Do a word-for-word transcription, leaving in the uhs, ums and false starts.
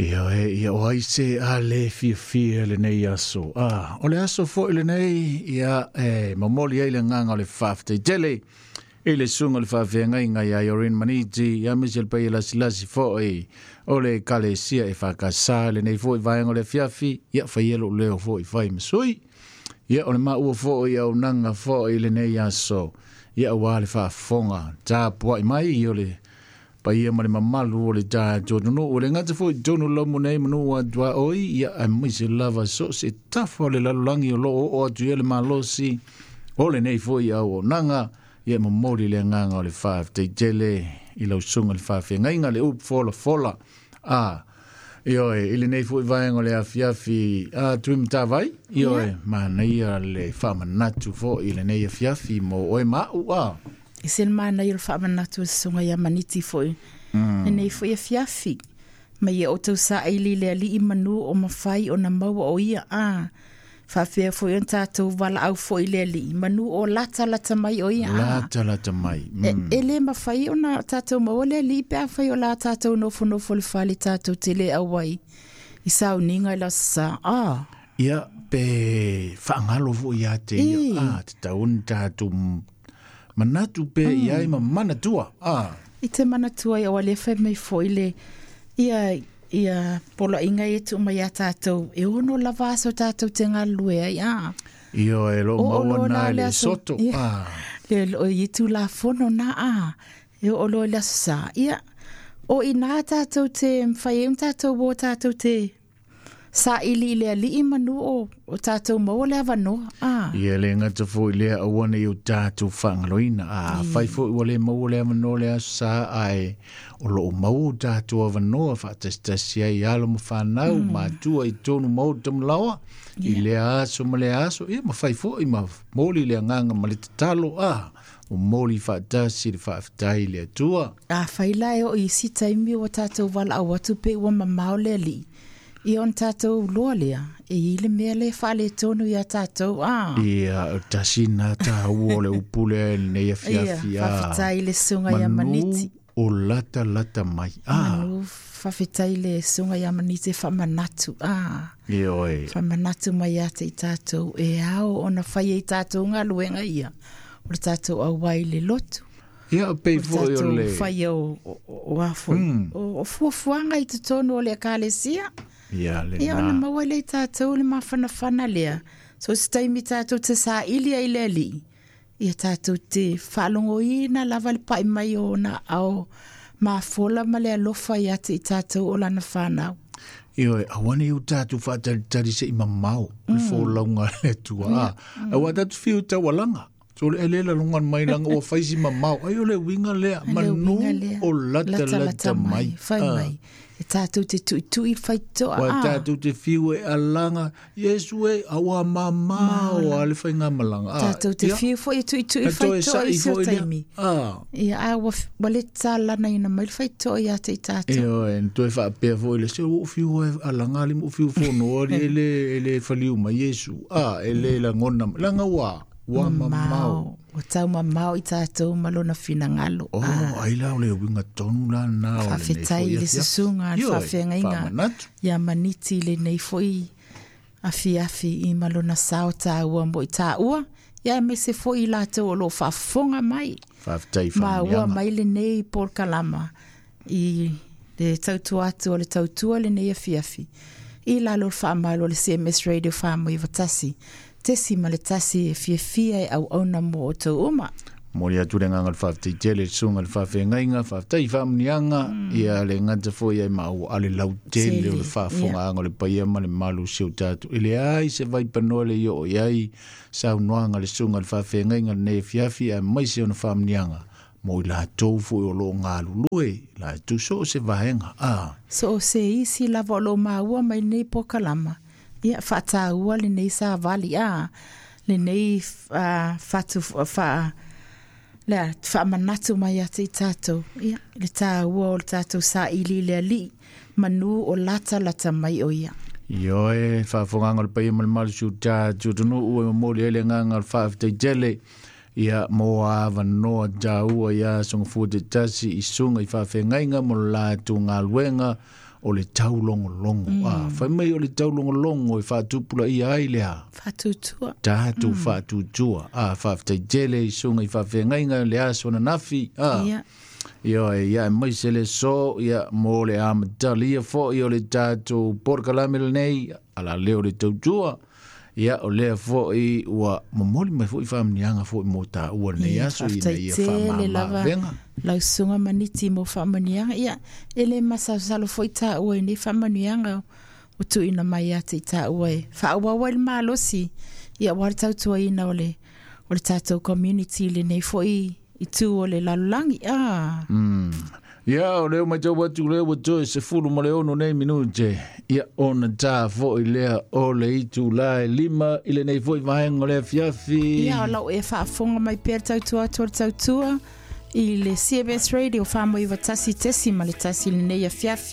Ia e, ia o ai se a le fiafia lenei aso. Ah, o le aso foi lenei, ia e momoli ai le agaga o le faafetai tele i le susuga o le faafeagaiga ia Irene Maniti, ia aemaise le paia lasilasi foi o le Ekalesia e faakasa lenei foi vaega o le afiafi, ia faia lou leo foi fai ma sui. Ia o le maua foi auaunaga foi lenei aso, ia aua le faafofoga tapuai mai o le paia ma le mamalu o le tatou atunuu. O le gata foi i totonu o le laumu nei ma nuu atuaoi, ia aemaise lava so o se tafa o le lalolagi o loo oo atu i ai le malosi o lenei foi auaunaga. Ia momoli le agaga o le faafetai tele i lau susuga i le faafeagaiga le upu folafola. A ioe, i lenei foi vaega o le afiafi a Tuimatavai, ioe, manaia le faamanatu foi i lenei afiafi mo oe ma au a. E se le manaia o le faamanatu o le susuga ia Maniti foi lenei foi afiafi. Ma ia outou saili le alii manu o mafai ona maua o ia a. Faapea foi ona tatou valaau foi le alii manu o lata lata mai o ia a. Lata lata mai. E, e le mafai ona tatou maua le alii pe afai o la tatou nofonofo le fale tatou te le auai i sauniga i le Aso Sa. A. Ia, pe faagalo foi ia te ia. A, tatau ona tatou manatu pe i ai ma manatua. A. I te manatua ia o le fai mai foi le ia ia poloaiga ia tuu mai ia tatou e ono lava aso tatou te galulue ai a. Ioe, e loo O maua o na la i le le aso. soto. Ia. A. Le o i tulafono na a. E oo loa i le aso sa. Ia, o ina tatou te mafai ai ona tatou o tatou te saili i le alii manu o, o tatou maua le avanoa. A. Ia le gata foi lea aua ne i o tatou faagaloina. A fai foi ua le maua le avanoa le aso sa, ae o loo maua o tatou avanoa faatasitasi ai alo ma fanau mm. matua i totonu maota ma laoa i lea aso ma lea aso. Ia ma fai foi ma moli le agaga ma le tatalo. A momoli faatasi le faafetai i le Atua. A fai la e oo i isi taimi ua tatou valaau atu pe ua mamao le alii. Ia ona tatou loa lea, e i le mea le faaletonu ia tatou. A. Ia, o tasi na taua o le upu lea i lenei afiafi. Ia, a. faafetai i le susuga ia Manu Maniti. o lata lata mai. A. Manu faafetai le susuga ia Maniti e faamanatu. A. Ioe. Faamanatu mai ia te i tatou e ao ona fai ai tatou galuega ia. O le tatou auai i le lotu. Ia, pei O le foi o tatou le fai o, o, o a foi. O, o fuafuaga i totonu o le ekalesia. Ia, le Ia, ona na. maua lea i tatou le mafanafana lea. So se taimi tatou te saili ai le alii. Ia tatou te faalogoina lava le pai mai o ona ao mafola ma le alofa ia te i tatou o lana whanau. Ioe, aua ne i o tatou faatalitali se i mamao le folauga a le Atua. A, aua tatou fiu taualaga. So le ele la lunga mai langa ua fai si mamao. Ai o le uiga lea, Le manu uiga lea. o lata lata mai. Fai Ah. mai. E tatou te tuitui faitoa. Ua Ah. tatou te fiu e alaga, Iesu e, aua mamao a le faigamalaga. Ah, Tatou te ia. fiu foi e tuitui E toe faitoa sa'i i se foi lea. taimi. Ah. Ia, a ua f-, ua le talana ina mai le faitoa ia te i tatou. Ioe, na toe faapea foi le se ua fiu e alaga ali mo fiu fono ali e le, e le faliu mai Iesu. Ah, e le lagona, langa ua, ua mamao. Ua tau mamao i tatou ma lona finagalo. Oh, Ah. ai la o le uiga tonu la na o lenei Faafetai foi i le afiafi. susuga a le Ioe, faafeagaiga. faamanatu. Ia Maniti i lenei foi afiafi i ma lona sao taua mo i taua. Ia aemaise foi i latou o loo faafofoga mai. Faafetai Ma ua faamanuiaga. mai lenei polokalama i le tautua atu o le tautua lenei afiafi. I lalo o le faamalo o le C M S Radio Whamui Watasi. Tesi ma le tasi e fiafia e auauna mo o tau uma. Moli atu le agaga o le faafetai tele, le susuga o le faafeagaiga, faafetai faamanuiaga, ia le gata foi ai maua a le lautele o le Tele, faafofogaaga o le paia ma le malu o si o tatou. E leai se vaipanoa le i oo i ai saunoaga le susuga o le faafeagaiga lenei afiafi, aemaise ona faamanuiaga mo i latou foi o loo galulue, latou so o se vaega. Ah. So o se isi lava o loo maua mai nei polokalama. Ia, faataua lenei savali, ah, lenei, ah, fatu, fa, lea, faamanatu mai ia te i tatou. Ia, le taua o le tatou saili i le alii, manu o lata lata mai o ia. Ioe, faafogaga o le paia ma le malu si o tatou atunuu e momoli ai le agaga o le faafetai tele. Ia, mo avanoa taua ia sogafua te tasi i susuga i faafeagaiga mo le latou galuega o le taulogologo. Mm. A fai mai o le taulogologo e faatupulaia ai le a Faatutua. Tatou faatutua. A faafetai tele i susuga i faafeagaiga le aso ananafi. A Ia. Ia ia e mai se le so ia mo le amatalia fo'i o le tatou polokalame lenei ala lea o le tautua. Ia o lea fo'i ua momoli mai fo'i faamanuiaga fo'i mo taua lenei Ia, aso ina faafetai ia tele lava. faamamaavega. Lau susuga maniti mo faamanuiaga. Ia, e le masalosalo fo'i taua i nei faamanuiaga ua tuuina mai ia te i taua e faaauau ai le malosi. Ia, ua le tautuaina o le, o le tatou community lenei fo'i i tu o le lalolagi. Ah. Mm. Ia, o lea matau atu lea ua toe sefulu ma le ono nei minute. Ia, ona tā fo'i lea o le itula e lima i lenei fo'i vaega o le afiafi. Ia, o lau e faafofoga mai pea le tautua atu o le tautua i le C B S Radio faamoiva tasi tesi ma le tasi lenei afiafi.